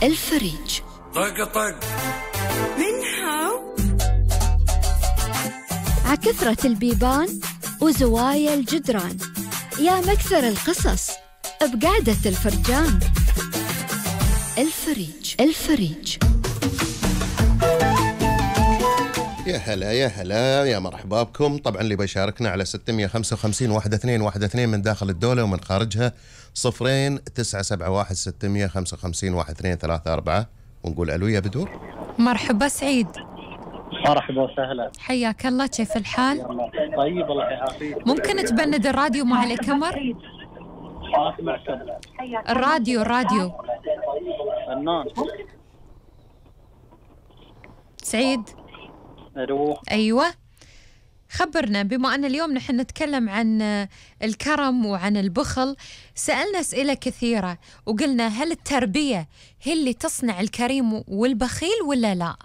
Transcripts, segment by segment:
الفريج. طق طق من هاو عكثرة البيبان وزوايا الجدران، يا مكثر القصص بقعدة الفرجان. الفريج. الفريج. يا هلا يا هلا يا مرحبا بكم. طبعا اللي بيشاركنا على 655 1212 من داخل الدولة ومن خارجها 0971 655 1234 ونقول ألو يا بدور. مرحبا سعيد. مرحبا وسهلا. حياك الله، كيف الحال؟ طيب الله يعافيك. ممكن تبند الراديو مع الكمر؟ الراديو فنان. سعيد. الو. أيوة، خبرنا، بما أن اليوم نحن نتكلم عن الكرم وعن البخل، سألنا أسئلة كثيرة وقلنا هل التربية هي اللي تصنع الكريم والبخيل ولا لا؟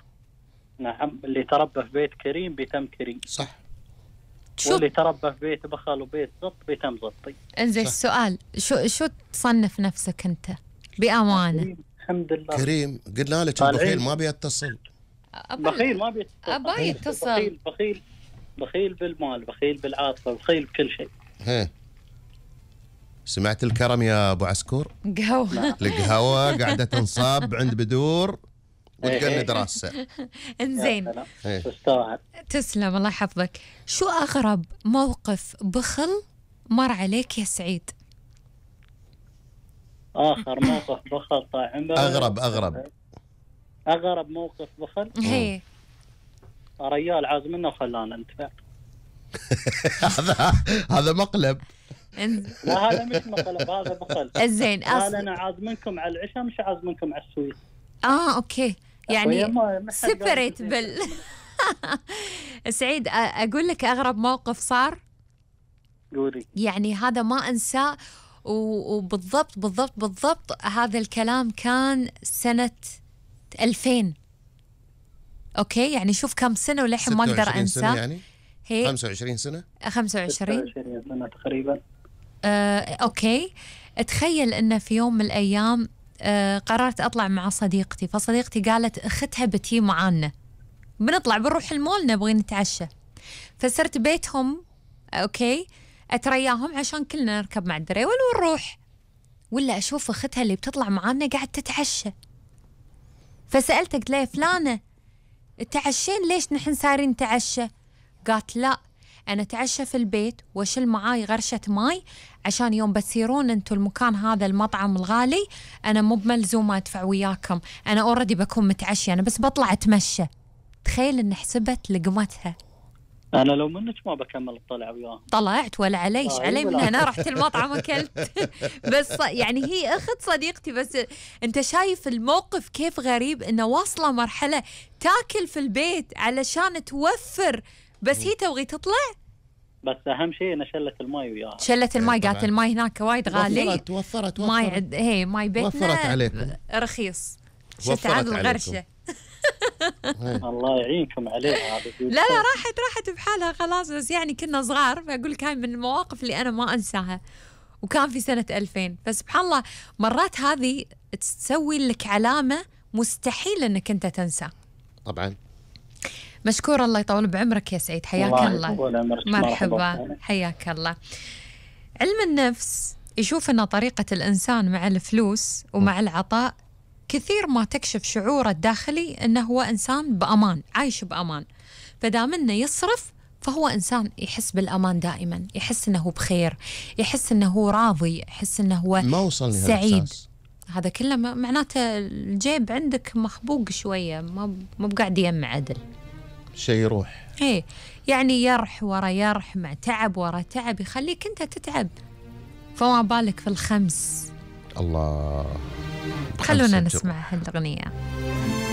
نعم، اللي تربى في بيت كريم بيتم كريم. صح. واللي تربى في بيت بخل وبيت زط بيتم زطي. انزين، السؤال شو تصنف نفسك أنت بأمانة؟ الحمد لله كريم. قلنا لك البخيل ما بيتصل. بخيل ما بيتصل. أبا يتصل. بخيل بالمال، بخيل بالعاطفة، بخيل بكل شيء. هي سمعت الكرم يا أبو عسكور؟ قهوة. القهوة قاعدة تنصاب عند بدور وتقند راسه. انزين، تستاهل. تسلم، الله يحفظك. شو أغرب موقف بخل مر عليك يا سعيد؟ آخر موقف بخل طال عمرك. أغرب موقف بخل. هي ريال عاز منه وخلانا ندفع. هذا مقلب. لا هذا مش مقلب، هذا بخل. زين، قال أنا عاز منكم على العشاء مش عاز منكم على السويس. أوكي، يعني سيبريت سعيد، أقول لك أغرب موقف صار. قولي. يعني هذا ما أنساه، وبالضبط هذا الكلام كان سنة 2000. أوكي، يعني شوف كم سنة وللحين ما أقدر أنساه. يعني هي 25 سنة 25 سنة تقريبا. أوكي، أتخيل أن في يوم من الأيام قررت أطلع مع صديقتي، فصديقتي قالت أختها بتي معانا، بنروح المول نبغي نتعشى، فصرت بيتهم. أوكي، أترياهم عشان كلنا نركب مع الدريول ونروح، ولا أشوف أختها اللي بتطلع معانا قاعد تتعشى، فسألتها قلت لها فلانة تعشين ليش نحن صايرين نتعشى؟ قالت لا، أنا أتعشى في البيت وأشيل معاي غرشة ماي عشان يوم بتصيرون أنتوا المكان هذا المطعم الغالي أنا مو بملزومة أدفع وياكم، أنا أوردي بكون متعشي، أنا بس بطلع أتمشى. تخيل إن حسبت لقمتها. أنا لو منك ما بكمل الطلع وياها. طلعت ولا عليش علي من هنا رحت المطعم أكلت. بس يعني هي أخت صديقتي، بس أنت شايف الموقف كيف غريب، إنه واصلة مرحلة تاكل في البيت علشان توفر، بس هي تبغي تطلع. بس أهم شيء أنا شلت الماي وياها. شلت الماي، قالت الماي هناك وايد غالي. توفرت ماي هي ماي بيتنا وفرت عليكم رخيص. شفت عاد الغرشة. الله يعينكم عليها. لا راحت بحالها خلاص، بس يعني كنا صغار، فأقول لك هاي من المواقف اللي أنا ما أنساها، وكان في سنة 2000. فسبحان الله مرات هذه تسوي لك علامة مستحيل أنك أنت تنسى. طبعا. مشكور، الله يطول بعمرك يا سعيد، حياك الله. مرحبا، حياك الله. علم النفس يشوف أن طريقة الإنسان مع الفلوس ومع العطاء كثير ما تكشف شعوره الداخلي أنه هو إنسان بأمان، عايش بأمان، فدام أنه يصرف فهو إنسان يحس بالأمان دائما، يحس أنه بخير، يحس أنه هو راضي، يحس أنه هو ما وصلني سعيد. هذا كله معناته الجيب عندك مخبوق شوية، ما بقاعد يجمع عدل، شيء يروح. إيه، يعني يرح ورا يرح، مع تعب ورا تعب، يخليك أنت تتعب، فما بالك في الخمس. الله. خلونا نسمع هالأغنية.